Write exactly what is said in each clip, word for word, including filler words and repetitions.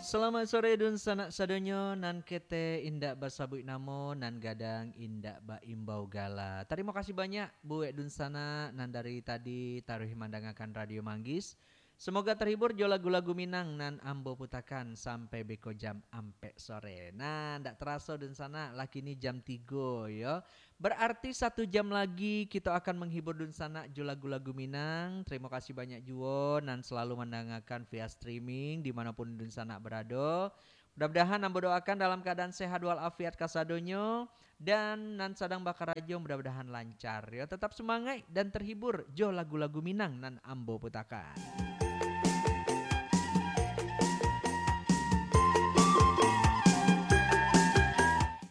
Selamat sore dunsanak sadonyo, nan ketek indak basabuik namo, nan gadang indak baimbau gala. Tarimo kasih banyak buek dunsanak nan dari tadi taruih mandangakan Radio Manggis. Semoga terhibur jo lagu-lagu Minang nan ambo putakan sampai beko jam ampek sore. Nah, ndak teraso dunsanak, lah kini jam tigo yo. Berarti satu jam lagi kito akan menghibur dunsanak jo lagu-lagu Minang. Terima kasih banyak juo nan selalu mandangakan via streaming di manopun dunsanak berado. Mudah-mudahan ambo doakan dalam keadaan sehat walafiat kasadonyo, dan nan sadang bakarajo mudah-mudahan lancar yo. Tetap semangat dan terhibur jo lagu-lagu Minang nan ambo putakan.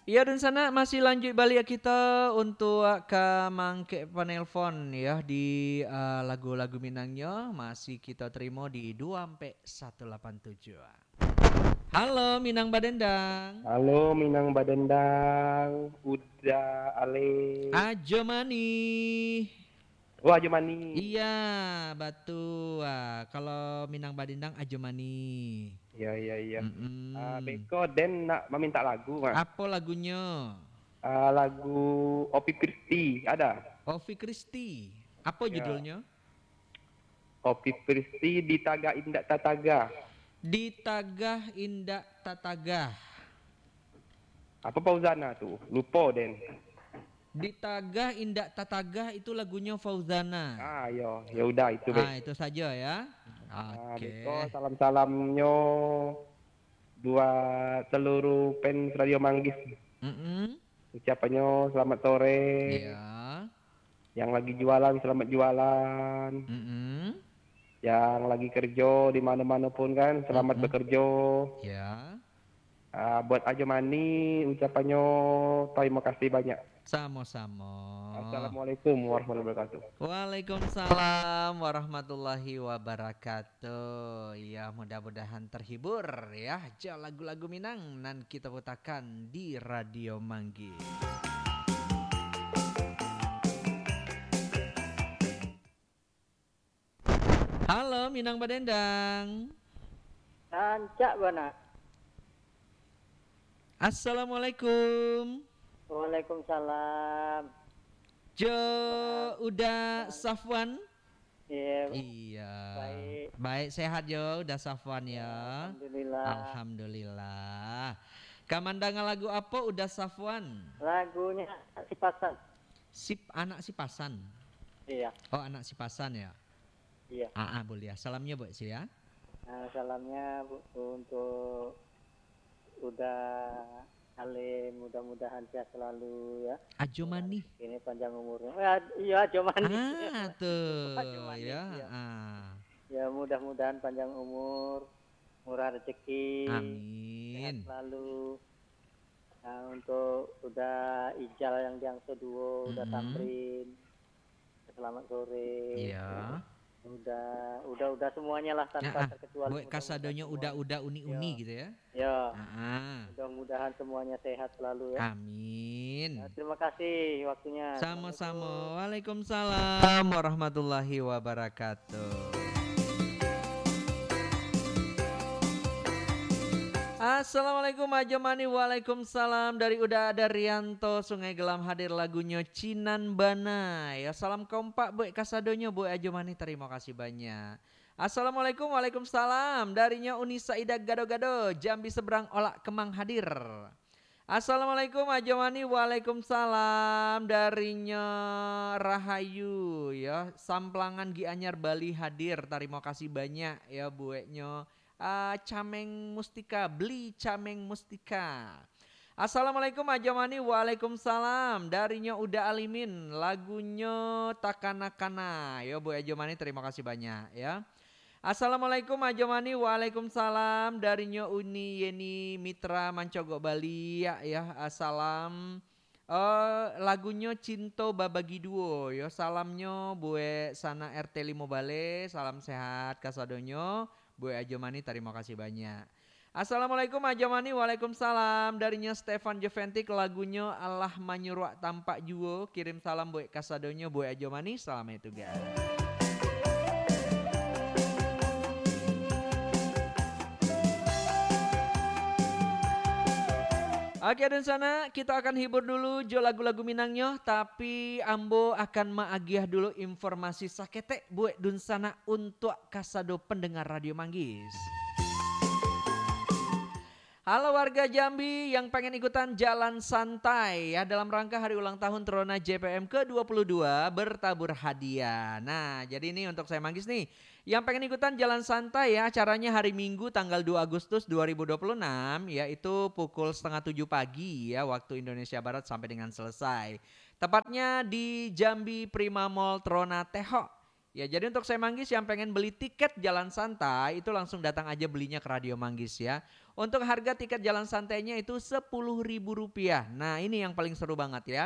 Iyo dunsanak, masih lanjuik baliak kito untuak ka mangkek panelpon yo di, eh, lagu-lagu Minangnyo masih kito terimo di dua ampek satu lapan tujuh. Halo Minang Badendang. Halo Minang Badendang, Uda Ale. Ajo Mani. Oh, Ajo Mani. Iya, batua. Kalau Minang Badendang Ajo Mani. Iya, iya, iya. Mm-mm. Ah, beko den nak mamintak lagu, Mas. Apo lagunyo? Ah, lagu Opi Kristi, ada? Opi Kristi. Apo Ya. judulnyo? Opi Kristi, Ditagah Indak Tatagah. Ditagah Indak Tatagah. Apa Fauzana tu? Lupo den. Ditagah Indak Tatagah itu lagunyo Fauzana. Ah, yo, ya udah itu, Bek. Ah, itu sajo ya. Ah, Oke. beko salam-salamnyo buat seluruh fans Radio Manggis. Mm-mm. Ucapannyo selamat sore. Iya. Yang lagi jualan, selamat jualan. Mm-mm. Yang lagi kerjo di mano-mano pun kan, selamat Mm-mm. bekerjo. Iya. Ah, buat Ajo Mani, ucapannyo tarimo kasih banyak. Samo-samo. Assalamualaikum warahmatullahi wabarakatuh. Waalaikumsalam warahmatullahi wabarakatuh. Ya, mudah-mudahan terhibur ya, jo lagu-lagu Minang nan kito putakan di Radio Manggis. Halo, Minang Badendang. Rancak bana. Assalamualaikum. Waalaikumsalam. Jo Uda Safwan. Iya. Iya. Baik. Baik, sehat jo Uda Safwan ya. Alhamdulillah. Alhamdulillah. Ka mandanga lagu apo Uda Safwan? Lagunyo Sipasan. Sip, anak Sipasan. Iya. Oh, anak Sipasan ya. Iya. Ah, ah, boleh ya. Salamnya buat saya. Ah, salamnya bu-, untuk Uda Ale, mudah-mudahan sehat selalu ya. Ajo Mani. Ini panjang umurnya. Eh, ad-, iya, Ajo Mani. Ah, tuh. Ajo Mani, Ya, iya. Ah. Ya, mudah-mudahan panjang umur, murah rezeki, Amin. sehat selalu. Nah, untuk Uda Ijal yang di Angso Duo, Uda Mm-mm. Tamrin, selamat sore. Iya. Uda, Uda, Uda semuanya lah tanpa Ah, ah. terkecuali. Buat Mudah-mudahan kasadonyo semua Uda-Uda uni-uni Iya. gitu ya. Ya. Ah, ah. Mudah-mudahan semuanya sehat selalu ya. Amin. Ya, terima kasih waktunya. Sama-sama. Assalamualaikum. Waalaikumsalam warahmatullahi wabarakatuh. Assalamualaikum, Ajo Mani. Waalaikumsalam. Dari Uda Daryanto, Sungai Gelam hadir lagunyo Cinan Bana. Ya, salam kompak buat kasadonyo, buat Ajo Mani. Tarimo kasih banyak. Assalamualaikum, waalaikumsalam. Darinyo Uni Saidah Gado-Gado, Jambi Seberang Olak Kemang hadir. Assalamualaikum, Ajo Mani. Waalaikumsalam. Darinyo Rahayu, ya. Samplangan Gianyar Bali hadir. Tarimo kasih banyak, ya, bueknyo. Ah, Cameng Mustika, beli Cameng Mustika. Assalamualaikum, Ajo Mani. Waalaikumsalam. Darinyo Uda Alimin, lagunyo Takana-kana. Yo, buek Ajo Mani, tarimo kasih banyak, ya. Assalamualaikum, Ajo Mani. Waalaikumsalam. Darinyo Uni Yeni Mitra Mancogok Bali, ya, ya. Assalam. Eh, lagunyo Cinto Babagi Duo, yo. Salamnyo buek sanak R T limo Baleh. Salam sehat kasadonyo. Buek Ajo Mani, tarimo kasih banyak. Assalamualaikum, Ajo Mani. Waalaikumsalam. Darinyo Stefan Joventik, lagunyo Alah Manyuruak Tampak Juo. Kirim salam buek kasadonyo, buek Ajo Mani. Salamaik tugas. Oke, Dunsanak, kita akan hibur dulu jo lagu-lagu Minangnyo, tapi ambo akan maagiah dulu informasi saketek buek Dunsanak untuak kasado pendengar Radio Manggis. Halo warga Jambi yang pengen ikutan jalan santai ya dalam rangka hari ulang tahun Trona J P M ke dua puluh dua bertabur hadiah. Nah, jadi ini untuk saya Manggis nih. Yang pengen ikutan jalan santai ya, acaranya hari Minggu tanggal dua Agustus dua ribu dua puluh enam, yaitu pukul setengah tujuh pagi ya, waktu Indonesia Barat sampai dengan selesai. Tepatnya di Jambi Prima Mall Trona Teho. Ya, jadi untuk saya Manggis yang pengen beli tiket jalan santai, itu langsung datang aja belinya ke Radio Manggis ya. Untuk harga tiket jalan santainya itu sepuluh ribu rupiah. Nah, ini yang paling seru banget ya.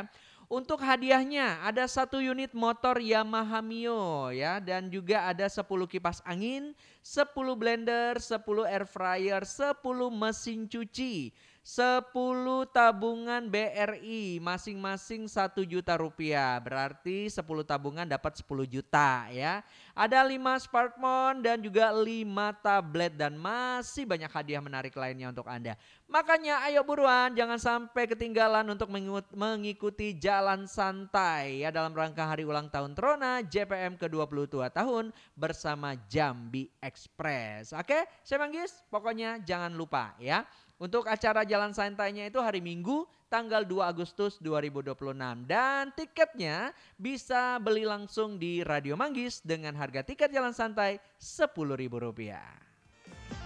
Untuk hadiahnya ada satu unit motor Yamaha Mio ya, dan juga ada sepuluh kipas angin, sepuluh blender, sepuluh air fryer, sepuluh mesin cuci, sepuluh tabungan B R I, masing-masing satu juta rupiah. Berarti sepuluh tabungan dapat sepuluh juta ya. Ada lima smartphone dan juga lima tablet dan masih banyak hadiah menarik lainnya untuk Anda. Makanya ayo buruan, jangan sampai ketinggalan untuk mengut-, mengikuti jalan santai ya dalam rangka hari ulang tahun Trona J P M ke dua puluh dua tahun bersama Jambi Express. Oke, saya Manggis, pokoknya jangan lupa ya. Untuk acara jalan santainya itu hari Minggu tanggal dua Agustus dua ribu dua puluh enam dan tiketnya bisa beli langsung di Radio Manggis dengan harga tiket jalan santai sepuluh ribu rupiah.